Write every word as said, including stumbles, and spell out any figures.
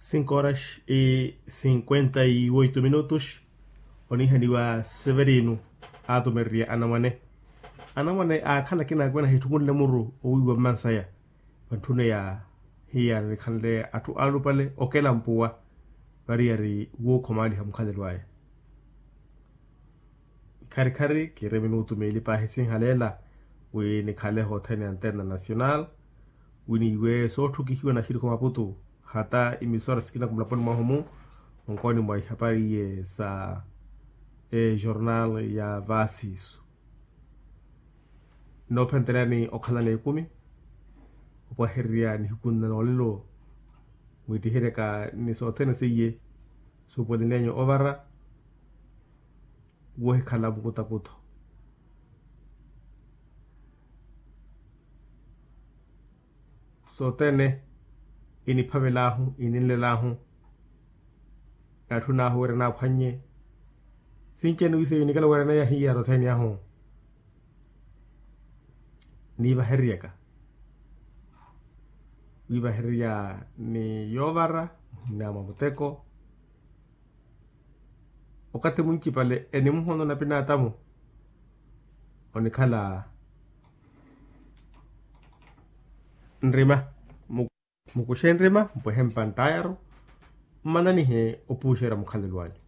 Cinco horas e cinquenta e oito minutos. Onihaniwa severino aatumererya anamwane. Anamwane aakhala akina akwe nahitthukunle muru owiiwa mmansaya. Vantthune ya hiya nikhanle atthu aalupale okela mpuwa. Variyari wookhomaaliha mukhalelo aya. Kharikhari kiri minutu meeli paahi sinhaleela wi nikhale hothene ya antena nacional, wi niiwe sootthukihiwa na xirikhu maputu hata imisora sikina kumulaponi mwahu-mu. Onkooni mwa ihapari iye sa ejornal ya vaasiisu. Noophentelani okhala n'ekumi opwahererya nihiku nna noolelo, mwittiheryaka ni sothene seiye suupuwelenenyu ovara wohikhala mukutakuto. Sothene iniphavel'ahu ininlel'ahu. Natthun'ahu wira naaphwannye sinci-ene wiseiyo nikala wira nayahiya rothene ahu. Niivahereryaka wiivahererya ni yoovara muhina mwa muteko. Okathi muncipale enimuhono na pinaatamu onikhala nrima. Mukuxe nrima mpwehe mpanttayaru mmananihe opuuxerya mukhalelo anyu.